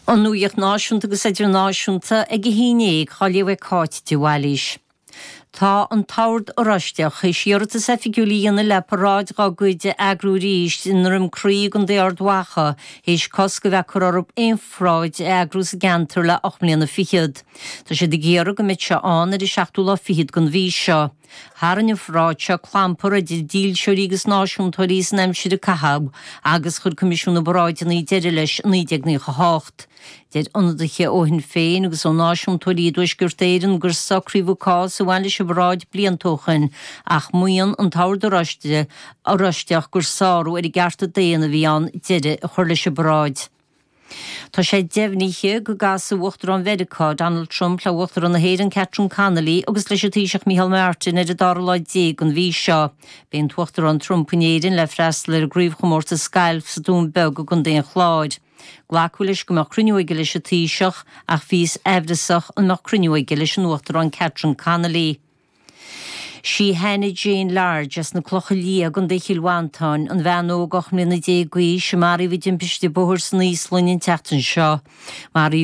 An nuacht náisiúnta agus idirnáisiúnta ag a haon dhéag á léamh ag Cáit de Bhailís. Tá an tOrd Oráisteach théis iarratas oifigiúil a dhéanamh le paráid dá gcuid a eagrú arís i nDroim Crí i gContae Ard Mhacha théis cosc a bheith curtha orthu aon pharáid a eagrú sa gceantar le 8 mbliana fichead. Tá siad ag iarraidh go mbeidh seo ann ar an seachtú lá fichead den mhí seo. Tharraing an pharáid seo clampar idir dílseoirí agus náisiúntóirí san aimsir a caitheadh agus chuir Coimisiún na bParáideanna deireadh leis i 1998. Deir ionadaithe ó Shinn Féin agus ó náisiúntóirí i dTuaisceart Éireann gur socraíodh an cás a bhain leis an bparáid blianta ó shoin ach maíonn an tOrd Oráisteach gur sárú ar a gcearta daonna a bhí ann deireadh a chur leis an bparáid. Tá sé deimhnithe go gcasfaidh Uachtarán Mheiriceá, Donald Trump le Uachtarán na hÉireann Catherine Connolly agus leis an Taoiseach Micheál Martin ar an dara lá déag den mhí seo. Beidh an tUachtarán Trump in Éirinn le freastal ar an gcraobhchomórtas gailf sa Dún Beag i gContae an Chláir. Glacadh leis go mbeadh cruinniú aige leis an Taoiseach ach bhíothas aimhreasach an mbeadh cruinniú aige leis an Uachtarán Catherine Connolly. Sí Hannah Jane Large as na Clocha Liatha i gContae Chill Mhantáin, an bhean óg 18 mbliana d'aois a maraíodh i dtimpiste bóthair san Íoslainn an tseachtain seo. Maraíodh.